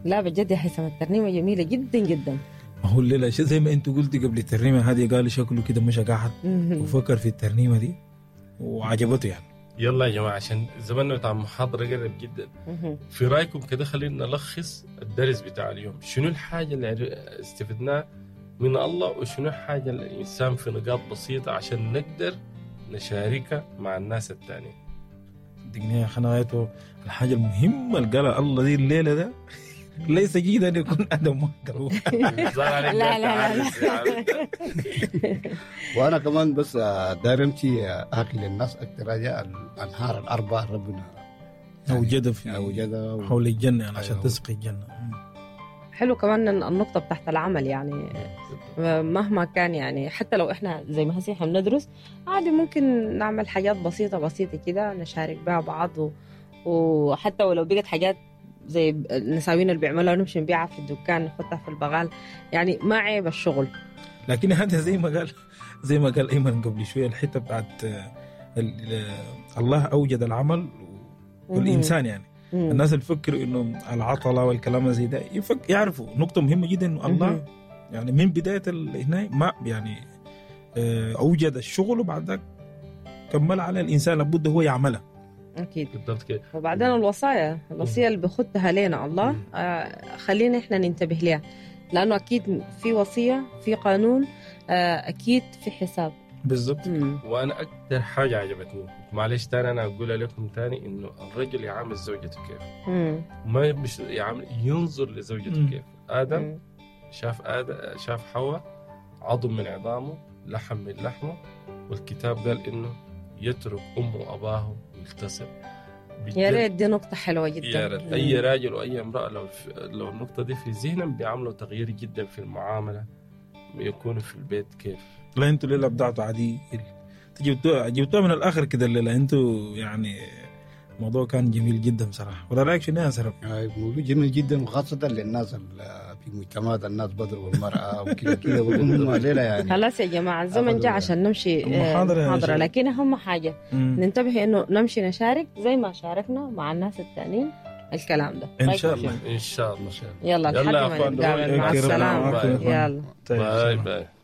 لا بجد يا هيثم، الترنيمة جميلة جدا جدا. ما هو الليلة زي ما انت قلتي قبل الترنيمة هذه، قالوا شكله كده مشى قاعد وفكر في الترنيمة دي وعجبته يعني. يلا يا جماعة، عشان زماننا بتاع المحاضرة قرب جدا. في رايكم كده خلينا نلخص الدرس بتاع اليوم. شنو الحاجة اللي استفدناها من الله، وشنو الحاجة اللي الانسان في نقاط بسيطة عشان نقدر نشاركها مع الناس الثانيين؟ صدقني يا اخي، انا غايته الحاجة المهمة اللي قالها الله دي الليلة ده ليس جيدا ان يكون ادم وحده. لا، لا، لا، لا. وانا كمان بس داير امشي احكي للناس اكثر حاجة، الانهار الاربعة ربنا اوجدها في اوجدها حول الجنة يعني عشان أيوه. تسقي الجنة. حلو كمان النقطة بتاعت العمل، يعني مهما كان، يعني حتى لو احنا زي ما هسي احنا بندرس عادي ممكن نعمل حاجات بسيطة بسيطة كده نشارك بها بعض، وحتى ولو بقت حاجات زي النساوين اللي بيعملوها نمشي نبيعها في الدكان، نحطها في البغال، يعني ما عيب الشغل. لكن هذا زي ما قال ايمن قبل شوية، الحتة بتاعت الله اوجد العمل والانسان يعني الناس اللي تفكر انه العطلة والكلام زي ده يعرفوا نقطة مهمة جدا، انه الله يعني من بداية هنا ما يعني اوجد الشغل وبعد ذاك كمل على الانسان، لابد هو يعملها. اكيد. بالضبط كده. وبعدين الوصايا، الوصية اللي بخدها لنا الله خلينا احنا ننتبه لها، لانه اكيد في وصية، في قانون، اكيد في حساب. بالضبط. وانا اكثر حاجة عجبتني، معلش تاني انا اقولها لكم تاني، انه الرجل يعامل زوجته كيف. ما مش يعامل، ينظر لزوجته كيف. ادم شاف ادم، شاف حواء عظم من عظامه، لحم من لحمه، والكتاب قال انه يترك امه واباه ويلتصق. يا ريت، دي نقطة حلوة جدا. يا ريت اي راجل واي امراة لو النقطة دي في ذهنهم بيعملوا تغيير جدا في المعاملة، يكونوا في البيت كيف. لا، انتوا الليلة ابدعتوا عديل، جبتوها من الاخر كده الليلة انتوا، يعني الموضوع كان جميل جدا بصراحة، ولا رايك شنو يا سرب؟ موضوع جميل جدا، وخاصة للناس في مجتمعات الناس بضربوا المرأة وكذا كذا، بقول هم الليلة يعني خلاص يا جماعة، الزمن جاء عشان نمشي المحاضرة يا محاضرة. شباب. لكن أهم حاجة ننتبه إنه نمشي نشارك زي ما شاركنا مع الناس التانيين الكلام ده. ان شاء الله. ان شاء الله. يلا يلا لحد يا ما أخوان، نتقابل، مع okay، ربنا السلامة. معاكم يا أخوان. يلا. طيب، bye bye.